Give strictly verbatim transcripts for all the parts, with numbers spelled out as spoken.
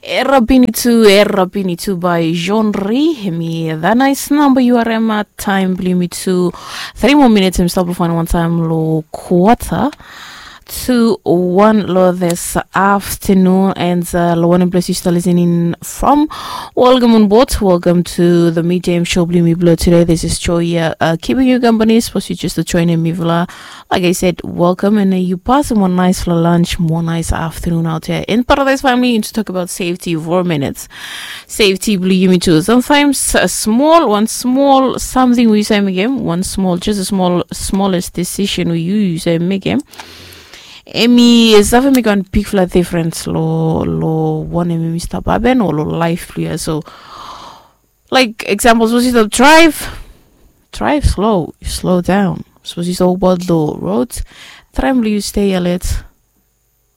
Era bini tu, era bini tu by Jean Ri. Hemi that nice number you are at time bli mi tu. Three more minutes him stop fine one time lo quarter to one lo this afternoon and uh, lo one place you still listening from. Welcome on board. Welcome to the medium show bli mi blo today. This is Joy uh, uh, keeping you company. Suppose you just joining me vla. Like I said, welcome and uh, you pass him one nice lunch, one nice afternoon out here in Paradise family. And to talk about safety for a minute. Safety bli yumi tu. Sometimes a small, one small something we say again, one small, just a small, smallest decision we you say again. Emi is having me gone big flat difference lo lo one emi stop happen or lo life clear. So like examples, was it a drive? Drive slow, slow down. Suppose you talk about the roads. Try and you stay alert.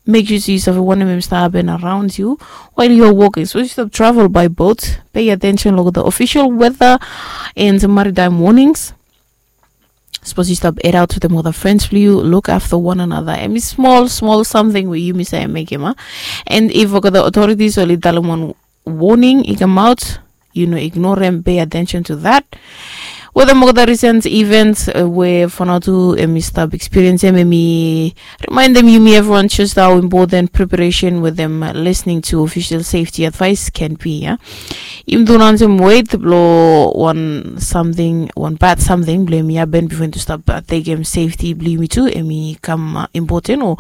Make sure you have one of them stop and around you while you're walking. Suppose you stop travel by boat. Pay attention, look at the official weather and maritime warnings. Suppose you stop head out with them other friends for you. Look after one another. And small, small something where you miss a make him. And if the authorities only tell them one warning, he come out, you know, ignore them, pay attention to that. Whether more the recent events uh, where Fanatu emi stop experience them, emi remind them you me everyone just how important preparation with them uh, listening to official safety advice can be. Yeah? Im do not them wait blow one something, one bad something, blame ya ben before to stop uh, take him safety, blame me too, emi come uh, important or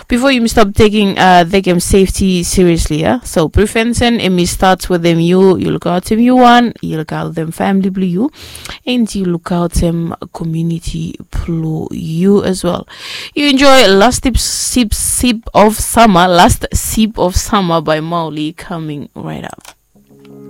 before you stop taking uh, take him safety seriously. Yeah? So prevention emi starts with them you, you look out him you one, you look out them family blue you, and you look out them community blue you as well. You enjoy last sip, sip, sip of summer, last sip of summer by Mauli coming right up.